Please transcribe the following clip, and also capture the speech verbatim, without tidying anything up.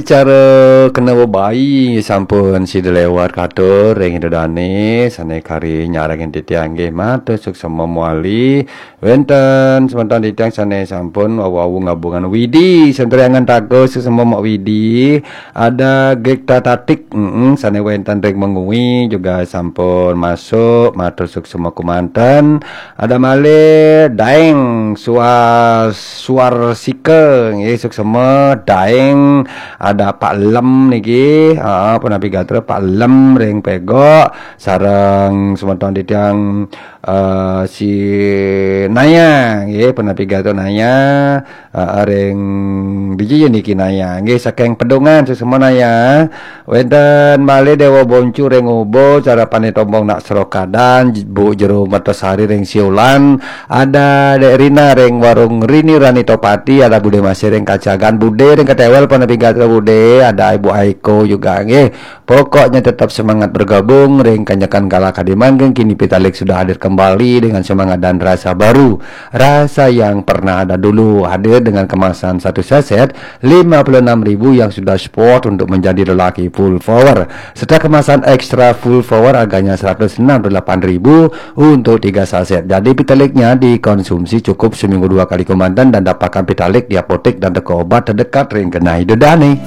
Cara kena bebayi sampun sida lewat katur ring ida dane sane kari nyarengin titiang nggih, matur suksma mawali. Wenten semeton titiang sane sampun wau-wau ngabungan Widi, Sentriangan Tago, suksma Mak Widi. Ada Gekta Tatik, mm, sane wenten ring Mengwi juga sampun masuk, matur suksma kumanten. Ada malih Daeng Suar Suarsika nggih, suksma Daeng. Ada Pak Lem niki, ha, punapi gatra Pak Lem ring Pegok, sareng semeton titiang, eh, si Naya nggih, punapi gatra Naya, eh, ring dija niki Naya nggih, saking Pedungan, suksma Naya. Wenten malih Dewa Boncu ring Ubud, Sarapane Tombong nak Serokadan, Bu Jero Mertasari ring Siulan, ada Dek Rina ring Warung Rini Rani Topati, ada Bude Masih ring Kacagan, Bude ring Ketewel, punapi gatra Bude, ada Ibu Aiko juga nggih. Pokoknya tetap semangat bergabung ring Kanjekan Kala Kadiman, kini Pitalik sudah hadir kembali dengan semangat dan rasa baru. Rasa yang pernah ada dulu hadir dengan kemasan satu saset lima puluh enam ribu yang sudah sport untuk menjadi lelaki full power, serta kemasan extra full power harganya seratus enam puluh delapan ribu untuk tiga saset. Jadi Pitaliknya dikonsumsi cukup seminggu dua kali kumanten dan dapatkan Pitalik di apotek dan toko obat terdekat ring kenai dedane.